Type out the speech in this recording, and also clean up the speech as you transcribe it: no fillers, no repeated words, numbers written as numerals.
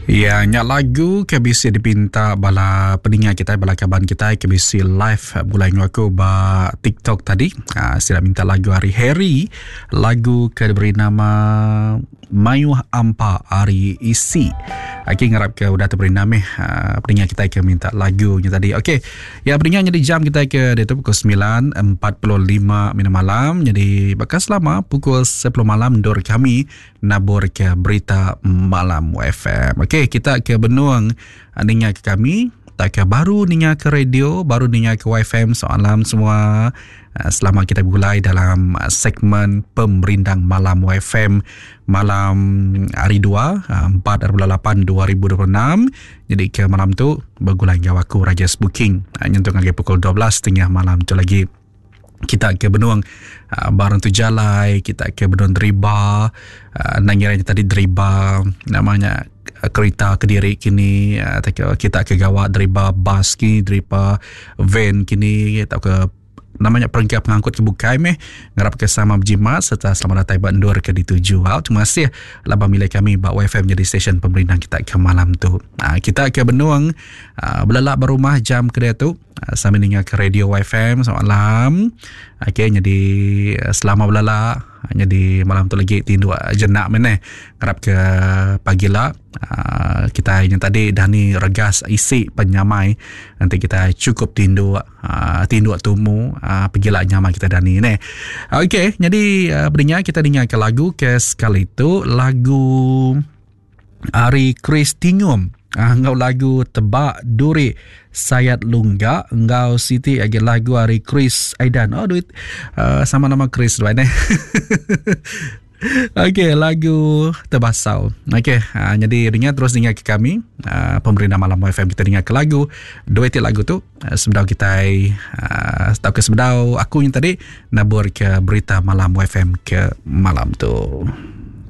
Iya nya lagu ke bisi dipinta bala peninga kitai bala kaban kitai ke bisi live begulai enggau aku ba TikTok tadi. Uh, sida minta lagu ari Harry, lagu ke diberi nama Mayuh Ampa ari Isi. Okey ngarap ke udah teberi nama meh uh, peninga kitai ke minta lagu nya tadi. Okey. Ya peninga nyadi jam kitai ke diatu pukul 9.45 minit malam. Jadi baka selama pukul 10 malam endur kami nabur ke berita malam FM. Okey, kita ke benung ah, ninga ke kami tak ke baru ninga ke radio, baru ninga ke YFM soalam semua. Ah, selamat kita bergulai dalam ah, segmen Pemerindang Malam YFM malam hari 2 4 8 2026. Jadi ke malam tu bergulai enggau aku Rajes Booking nyentuk ngagai pukul 12.30 malam tu lagi. Kita ke benung uh, barang tu jalai, kita ke benung deriba, uh, nang ngira tadi deriba namanya uh, kereta kediri kini uh, kita ke gawa deriba bas kini, deriba van kini atau ke nama nya perengka pengangkut ke bukai meh ngarap ke sama berjimat serta selamat datai ba endur ke dituju. Au, terima kasih laban milih kami ba YFM jadi stesen pemerindang kita ke malam tu. Ha, kita ke benung ha, belelak ba rumah jam ke diatu ha, sambil ninga ke radio YFM selamat malam. Okey jadi selama belelak jadi malam tu lagi tinduk jenak meh neh. Ngarap ke pagi la uh, kita yang tadi dah ni regas isi penyamai nanti kita cukup tinduk uh, tinduk tumu uh, pergi la nyamai kita dah ni neh. Okey, jadi uh, beringat kita dengar ke lagu ke sekali tu lagu ari Chris Tingum uh, enggau lagu Tebak Duri Sayat Lungga enggau siti agi lagu ari Chris Aidan. Oh duit uh, sama nama Chris duai neh. Okey, lagu Tebasau. Okey, uh, jadi dengar terus dengar ke kami uh, pemerintah malam FM kita dengar ke lagu dua ti lagu tu uh, sebedau kita uh, atau ke sebedau aku yang tadi nabur ke berita malam FM ke malam tu.